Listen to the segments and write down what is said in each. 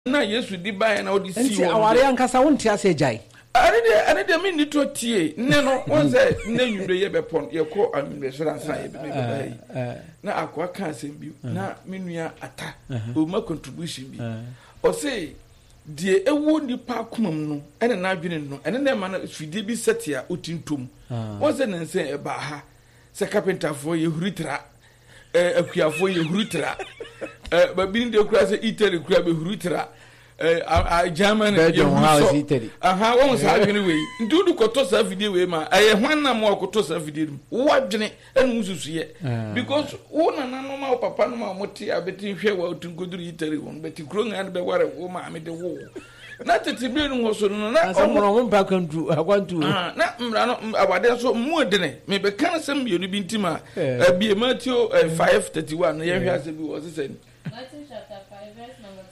Na Yesu de baeɛ na ɔde sii Nti hɔ no aware deɛ. ankasa wonte aseɛ gyae. Ɛne deɛ ɛne deɛ menni tɔ tie nnɛ no wɔn sɛ nnɛ nwumire yɛ bɛpɔn yɛkɔ anwumire sɔrɔ ansa yɛ bɛbɛ ha yi na akoa ka asɛm bi na me nua ata ɔma contribution bi ɔse deɛ ɛwɔ nipa akoma mu no ɛne n'adwene no ɛne na ɛma no fidie bi sɛte a ɔti ntom wɔn sɛ ne nsɛn ɛbaa ha sɛ kapentafoɔ yɛhuri tra eh, akuafoɔ yɛ huru tra eh, baabi no deɛ kura sɛ Italy kura bɛ huru tra eh, Germany yɛ huru sɔ Italy aha wɔn saa adwene wei nti wode kɔtɔ saa fidie wei ma ɛyɛ hwan na mo akɔtɔ saa fidie no wo adwene ɛna wo susuyɛ ah. because wo nananom a wo papa nom a wɔte abɛti hwɛ wɔ nkoduru Italy wɔn bɛti kuro ngaa no bɛware wo maame de wo na tete bere no hɔ so no na ɔmo ɔmo mpa akwantu akwantu ah, na mmara no awade nso mu edene mebɛka no sɛ mmienu bi nti ma ebie eh, Matthew eh, 5:31 no yɛhwɛ asɛ bi wɔ sesɛ ni. Matthew chapter 5 verse number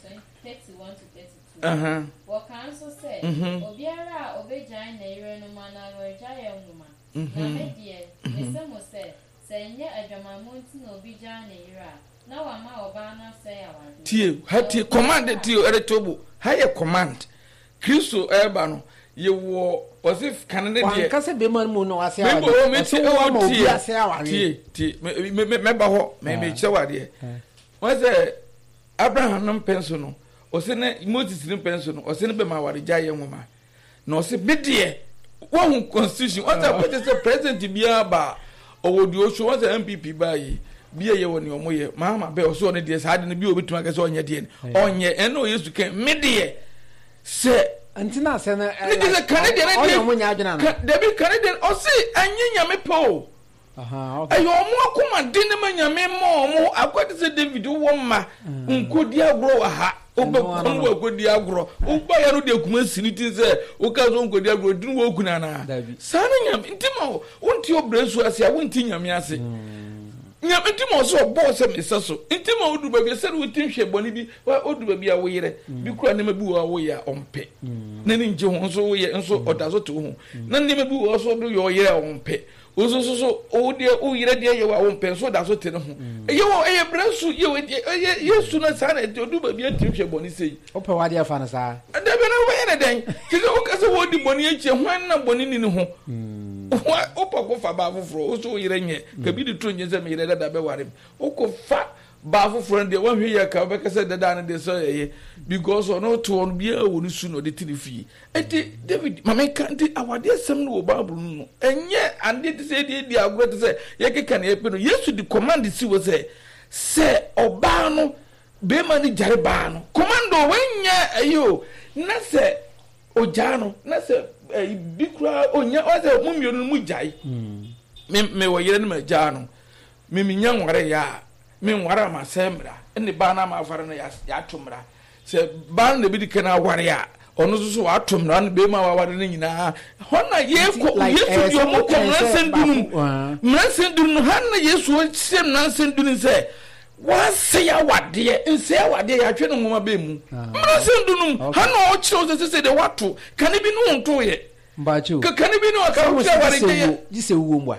31 to 32. Wɔka nso sɛ mhm. obiara a obegyae ne yere no ma no awaregyaeɛ nwoma. Na mhm. me deɛ, mese mo sɛ, sɛ ɛnyɛ adwamammɔ nti na obi gyaa ne yere a, Na wama ɔbaa no asɛe awadeɛ. Tie, ha tie, command tie ɛde to bo. Ha yɛ command. Kristo ɛreba no, yɛwɔ ɔse kane ne deɛ. Wanka sɛ bɛrima no mu na wasɛe awadeɛ. Ɔse wo ama obi asɛe awadeɛ. Tie, tie, mɛba hɔ, mekyerɛ wo adeɛ. Wɔn sɛ Abraham no mpɛn so no, ɔse ne Moses no mpɛn so no, ɔse ne bɛma awaregyaeɛ nwoma. Na ɔse me deɛ wahu constitution wɔn sɛ akɔkyɛ sɛ president biara ba a ɔwɔ deɛ ɔsuo wɔn sɛ npp baa yi bi yɛ wɔ nea ɔmo yɛ mahama bɛ ɔsɛ ɔno deɛ saa de no bi a obetumi akɛ sɛ ɔnyɛ deɛ no ɔnyɛ ɛna ɔyɛ su kɛn me deɛ sɛ nti na asɛ no ne deɛ sɛ kane deɛ ne deɛ ɔnyɛ ɔmo nyɛ adwene ano dabi kane deɛ ɔse ɛnyɛ nyame pɛ o. Ɛyɛ ɔmo akoma den ma Nyame ma ɔmo akɔ te sɛ David wowɔ mma nkodi agorɔ wɔ ha wobɛkɔm wɔ akodi agorɔ woba ya no de akuma si ne ti sɛ woka so nkodi agorɔ nti no wɔkunu anaa saa ne Nyame nti ma wonte ɔbrɛ su ase a wonte Nyame ase Nyame nti ma ɔsɛ ɔbɔɔ sɛ mesɛ so nti ma wodu baabi sɛ wote nhwɛ bɔne bi wodu baabi a woyerɛ bi kura nneɛma bi wɔ a woyɛ a ɔmpɛ na ne ngye ho nso woyɛ nso ɔda so te wo ho na nneɛma bi wɔ so do yɛ ɔyerɛ a ɔmpɛ Wo nso so so wo deɛ wo yerɛ deɛ yɛ wɔ a wo mpɛ nso da so te ne ho. Mm. Ɛyɛ wɔ ɛyɛ brɛ su yɛ wɔ ɛyɛ yɛ su na saa na ɛte odu baabi atiri hwɛ bɔne sei. Wopɛ w'adeɛ fa no saa. Dabi na wobɛyɛ ne dɛn? Te sɛ woka sɛ wɔdi bɔne akyi hwan na bɔne ni ne ho? Mm. Wopɛ ko fa baa foforɔ wo so wo yerɛ nyɛ mm. kabi de to nyɛ sɛ me yerɛ dada bɛware m wokɔ fa baa foforɔ no deɛ woahwɛ yɛ ka wobɛka sɛ dada no deɛ sɛ ɛyɛ because ɔno to ɔno biara wɔ ne su na ɔde te ne fie. Enti, David, ma menka, nti awadeɛ asɛm no wɔ Bible no mu, ɛnyɛ adeɛ te sɛ yɛde adi agorɔ te sɛ yɛkeka nea yɛpɛ no. Yesu de command si hɔ sɛ, sɛ ɔbaa no, barima no gyare baa no, command o, wei nyɛ ayi o, na sɛ ogyaa no, na sɛ ɛyi bi koraa onya, wɔn sɛ mo mmienu no mo gyae, me me wɔ yere no ma gyaa no, me menya nware yɛ a, me nware a ma sɛ mmara, ɛne baa no ama afare no yɛato mmara. Sɛ baa no na ebedi kan aware a, ɔno nso so wato mmara no bɛrima a waware no nyinaa. Hɔ na yɛkɔ Yesu deɛ ɔmo kɔ mmaransɛm du no mu. Mmaransɛm du no ha na Yesu ɔhyɛ mmaransɛm du no sɛ wasɛe awadeɛ nsɛe awadeɛ yɛatwe no nwoma bɛn mu. Mmaransɛm du no mu ha na ɔkyerɛ sɛ sɛ deɛ wato kane bi no ntoeɛ. Mpakyɛw. Kane bi no ɔka wokyerɛ aware gye gye sɛ wuo mboa.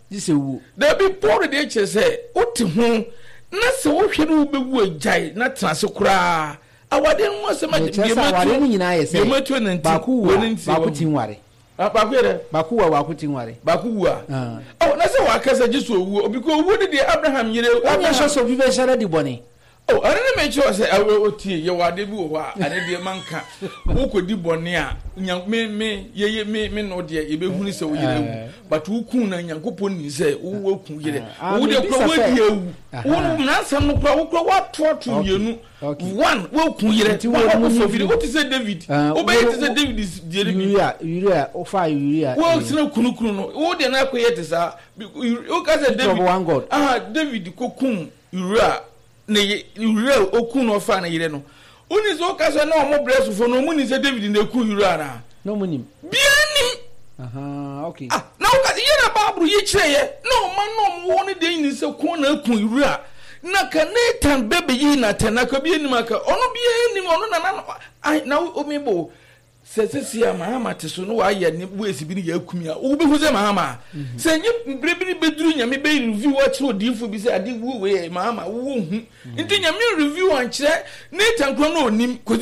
Gye sɛ wuo. Dabi Paul deɛ kyerɛ sɛ wote ho na sɛ wohwɛ no wobɛwu agyae na tena ase koraa awadeɛ no ho asɛm agye deɛ matu awadeɛ no nyinaa yɛ sɛ matu ne nti baako wu a baako ti nware baako yɛ dɛ baako wu a baako ti nware baako wu a ɔ na sɛ waka sɛ gye so owuo obi ko owuo ne deɛ Abraham yere Abraham sɛ obi bɛhyɛ no di bɔne. Oh, ɛno ne mekyerɛ wo sɛ ɛwɔ otie yɛwɔ adeɛ bi wɔ hɔ a ɛne deɛ manka wokɔdi bɔne a nya me me yɛyɛ me me no deɛ yɛbɛhunu sɛ wo yere awu but woku na nyankopɔn nim sɛ wowaku yerɛ wo deɛ kora woadi awu wo mmaransɛm no kora wo kora woatoato mmienu one woku yerɛ woakɔfa firi wote sɛ David wobɛyɛ te sɛ David deɛ no bi Uria Uria wofa Uria wosena kunukunu no wo deɛ no akɔyɛ te saa woka sɛ David aha David kɔkum Uria ne ye Uria a okuu no ɔfaa ne yere no. Wonni sɛ woka sɛ na wɔn brɛ sofo no wɔn nim sɛ David na eku Uria anaa? Na wɔn nim. Biara nim. Ahaa okay. Ah na woka yɛ na Bible yi kyerɛ yɛ na ɔma na wɔn wɔ ne deɛ nyini sɛ ko na aku Uria na ka Nathan bɛ bɛyi Nathan na ka bi anim aka ɔno biara nim ɔno na na na omi bo. Sɛ sɛsi a Mahama te so na wayɛ ne ways bi ne yɛ akumi a, wobɛhu sɛ Mahama a. Sɛ nye berɛ bi ne bɛduru Nyame bɛ review akyerɛ odiyifoɔ bi sɛ ade wuo wei yɛ Mahama, wonhu. Nti Nyame review ankyerɛ Nathan koraa na ɔnim kɔsi.